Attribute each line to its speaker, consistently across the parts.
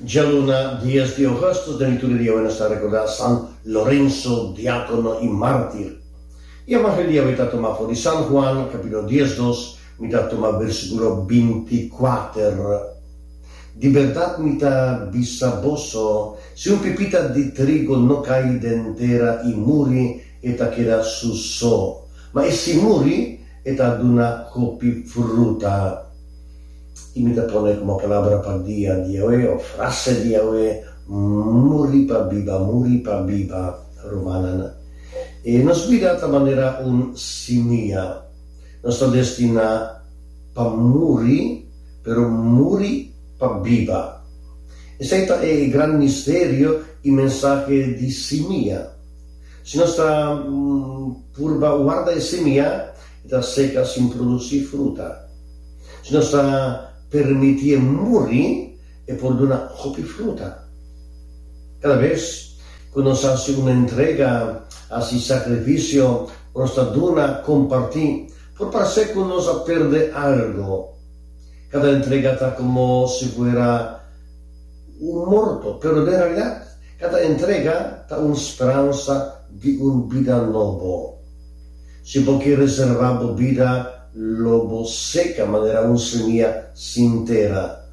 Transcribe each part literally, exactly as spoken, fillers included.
Speaker 1: Djaluna dies di ougùstùs den liturgia di awe nos ta rekordá San Lorenzo, diákono i mártir. E evangelio di awe ta tumá for di San Juan, kapítulo diesdos, mi ta tuma versíkulo binti kuater. Di bèrdat mi ta bisa boso, si un pipita di trigo no kai den tera i muri, e ta keda su so. Ma e si muri, e ta duna hopi fruta. I mi ta pone komo palabra pa dia di awe, òf frase di awe, Muri pa biba, muri pa biba, rumannan. E nos bida ta manera un simia. Nos ta destiná pa muri, pero muri pa biba. Esei ta e gran misterio i mensahe di simia. Si nos ta purba warda e simia, e ta seka sin produsí fruta. Si nos ta permitié muri, e por duna hopi fruta. Kada bes ku nos hasi un entrega, hasi sakrifisio o nos ta duna, kompartí, por parse ku nos a perde algu. Kada entrega ta komo si fuera un morto, pero den realidat kada entrega ta un speransa di un bida nobo. Si bo ke reservá bo bida, lo bo seka manera un semia sin tera.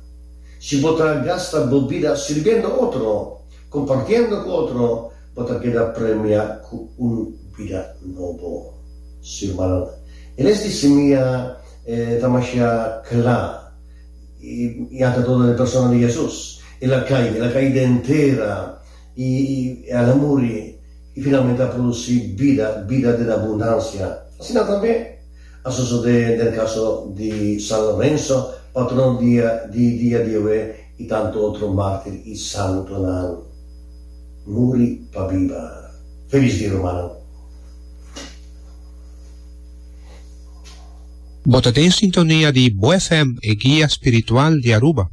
Speaker 1: Si bo ta gasta bo bida sirbiendo otro, kompartiendo ku otro, bo ta keda premiá ku un bida nobo. Sí, rumannan, e les di simia ta masha kla, i ante todo den persona di Hesus. El a kai, el a kai den tera, i el a muri, i finalmente a produsí bida, bida den abundansia. Asina tambe a sosodé den kaso di San Lorenzo, patrono di di dia di awe i tantu otro mártir i santunan. Muri pa biba. Felis dia rumannan.
Speaker 2: Bo ta den sintonia di Bo F M, e guia spiritual di Aruba.